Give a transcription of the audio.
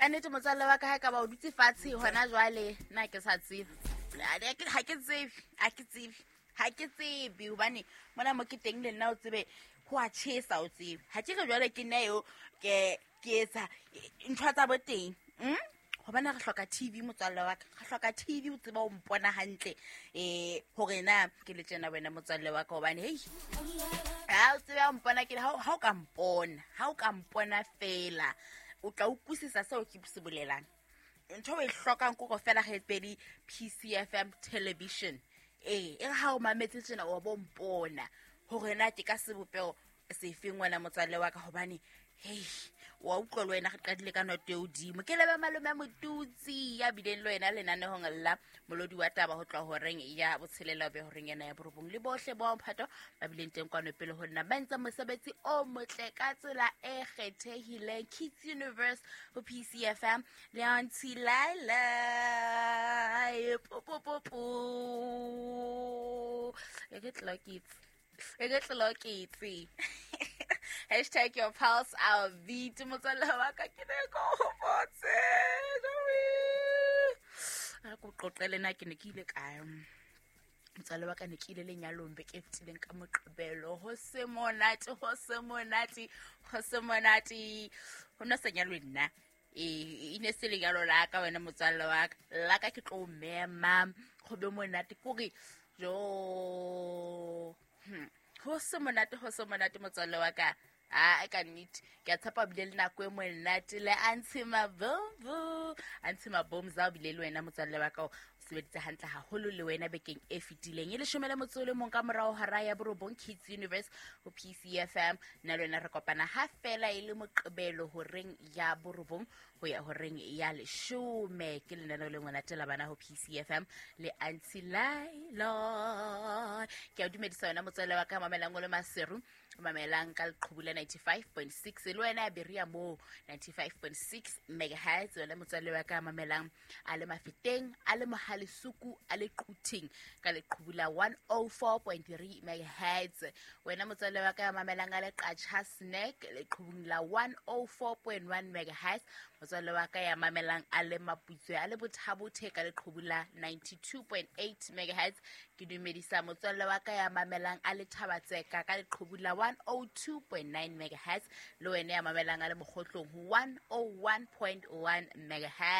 Ka nnete motswalle wa ka, ha e ka ba o dutse fatshe hona jwale, nna ke sa tsebe, ha ke tsebe, ha ke tsebe, ha ke tsebe, hobane mona mo ke teng le nna o tsebe ho a tjhesa, o tsebe ha ke re jwale ke nna eo ke ke etsa ntho tsa bo teng. Hobane re hloka TV, motswalle wa ka, re hloka TV o tseba o mpona hantle hore na ke le tjena wena motswalle wa ka, hobane hei ha o tsebe o mpona ke ha o ka mpona, ha o ka mpona fela o tla utlwisisa seo ke se bolelang. Ntho e hlokang kore fela re pedi PCFM television e re ha o mametse tjena wa bo mpona hore na ke ka sebopeho sefeng wena motswalle wa ka, hobane hei wa utlwa le wena re qadile ka noto e hodimo. Ke lebe malome Motutsi ya bileng le wena lenanehong la molodi wa taba ho tloha horeng ya botshelela be horeng ena ya borobong, le bohle ba mphato ba bileng teng kwano pele ho nna, ba entse mosebetsi o motle ka tsela e kgethehileng. Kids Universe ho PCFM le Auntie Laila popopopo e ke tlokitse, e ke tlokitse. Hashtag your pulse our beat. Motswalle wa ka, ke ne ko hopotse re ko qoqele na ke ne ke ile kae motswalle wa ka. Ne ke ile lenyalong beke e fetileng ka Moqebelo. Ho se monate, ho se monate, ho se monate. Ho no sa nyalwe nna, e ne se lenyalo la ka wena motswalle wa ka. La ka ke tlo mema go be monate kore jo. Ho se monate, ho se monate motswalle wa ka. A ka nnete ke a tshepa bile le nako e monate le Auntie Mabombo. Auntie Mabomza o bile le wena motswalle wa ka, o sebeditse hantle haholo le wena bekeng e fetileng. E 11 ka morao hora ya 9, Kids Universe ho PCFM. Nna le wena re kopana ha fela e le Moqebelo horeng ya 9 ho ya horeng ya 10. Ke lenaneo le monate la bana ho PCFM le Auntie Laila. Ke a dumedisa wena motswalle wa ka mamelang o le Maseru, mamelang ka leqhubu la 95.6, le wena ya Berea mo 95.6 megahertz, wena motswalle wa ka mamelang a le Mafeteng, a le Mohalesuku, a le Quthing ka leqhubu la 104.3 megahertz, wena motswalle wa ka mamelang a le Qacha Snack leqhubung la 104.1 megahertz, motswalle wa ka ya mamelang a le Maputswe, a le Bothabothe ka leqhubu la 92.8 megahertz. Ke dumedisa motswalle wa ka ya mamelang a le Thabatseka ka leqhubu la 102.9 megahertz, le wena ya mamelang a le Mokgotlong ho 101.1 megahertz.